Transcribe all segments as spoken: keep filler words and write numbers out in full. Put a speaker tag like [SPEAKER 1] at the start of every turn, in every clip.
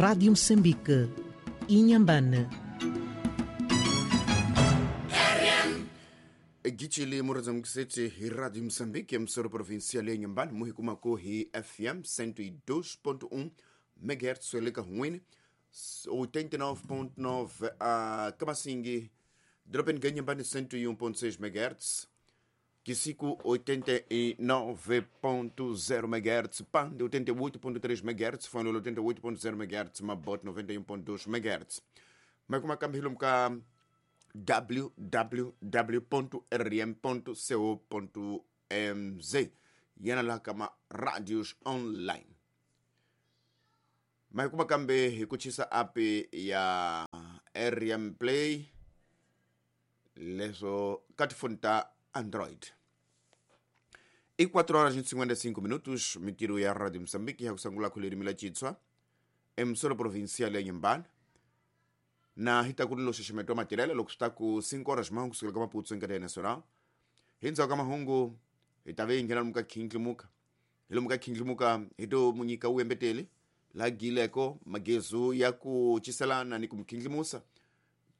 [SPEAKER 1] Rádio Moçambique, Inhambane.
[SPEAKER 2] Gicili murazamkiseti hi Radio Moçambique, emissora provincial ya Inhambane, muhikumako hi F M cento e dois ponto um megahertz, eleka huini oitenta e nove ponto nove a Kamasingi, Dropen Inhambane cento e um ponto seis megahertz, Kisiku oitenta e nove ponto zero megahertz, Pande oitenta e oito ponto três megahertz, Fanolo oitenta e oito ponto zero megahertz, Mabot noventa e um ponto dois megahertz. Mas como a câmera w w w ponto r m ponto co ponto m z yana la kama radios online. Mas kuma kambe hi kuchisa app ya R M Play leso katifunta Android. E quatro horas e cinquenta e cinco minutos, mitiro ya Radio Moçambique ya kusangula kulirimi la Chitswa, emissora provincial ya Inhambane. Na hitakulilo xixemeto matirele loko swi ta ku cinco horas mahungu kusukela ka Maputo enkarhi nacional. Hi ndzhaku ka mahungu hi ta ve hi nghena lomu ka khindlimuka. Hi lomu ka khindlimuka hi to munyika wu embeteli la gileko magezu ya ku ciselana ni ku mukhindlimusa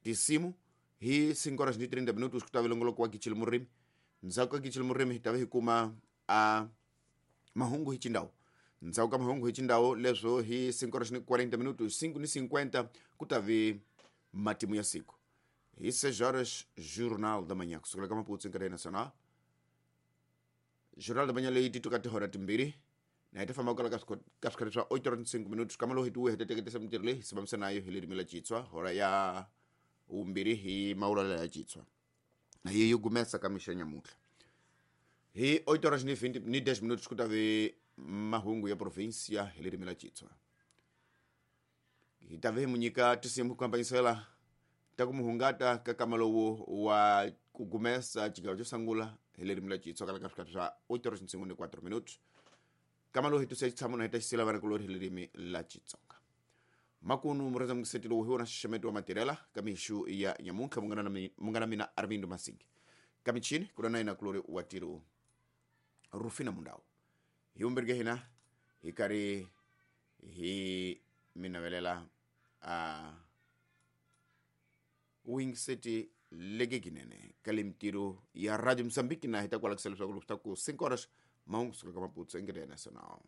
[SPEAKER 2] tisimu hi cinco horas ni trinta minutos ku ta ve longoloko wa Gichili Murimi. Ndzhaku ka Gichili Murimi hi ta ve hi kuma a mahungu hi Chindau. Ndzhaku ka mahungu hi Chindau leswo hi cinco horas ni quarenta minutos, cinco ni cinquenta ku ta ve matimu ya siku. Hi seis horas, Jornal da Manhã, kusukela ka Maputo enkarhi nacional. Jornal da Manhã leyi ti tuka tihora timbirhi na hi ta famba kwala ka swikhati swa oito horas ni cinco minutos. Kama lowu hi tiwe hi ta teketisa mintirho leyi hi sivamisa nayo hi ririmi la Chitswa hora ya vumbirhi hi mawulela ya Chitswa na yi yi gumesa ka mixa nyamuntlha. Hi oito horas ni vinte ni dez minutos ku ta ve mahungu ya provincia hi ririmi la Chitswa. Hi ta ve hi munyika tinsimu ku hambanyisela ta ku muhungata ka kama lowu wa ku gumesa xigava xo sungula hi ririmi la Chitswa kala ka swikhati swa oito horas ni cinquenta e quatro minutos. Kama lowu hi tusa xitshamo na hi ta xisela vana kulori hi ririmi la Xitsonga. Makunu murhandza mukiseti lowu hi wona xixemeto wa matirela ka mixu ya nyamuntlha munghana na munghana mina Armindo Masingi. Ka michini ku na yena kulori wa tiro Rufina Mundau. Hi vumbirhi hina hi karhi hi minavelela a wingiseti legeginene ka le mintirho ya Radio Moçambique na hi ta kwalakisa leswaku loko swi ta ku cinco horas mahungu kusuka ka Maputo enkarhi nacional.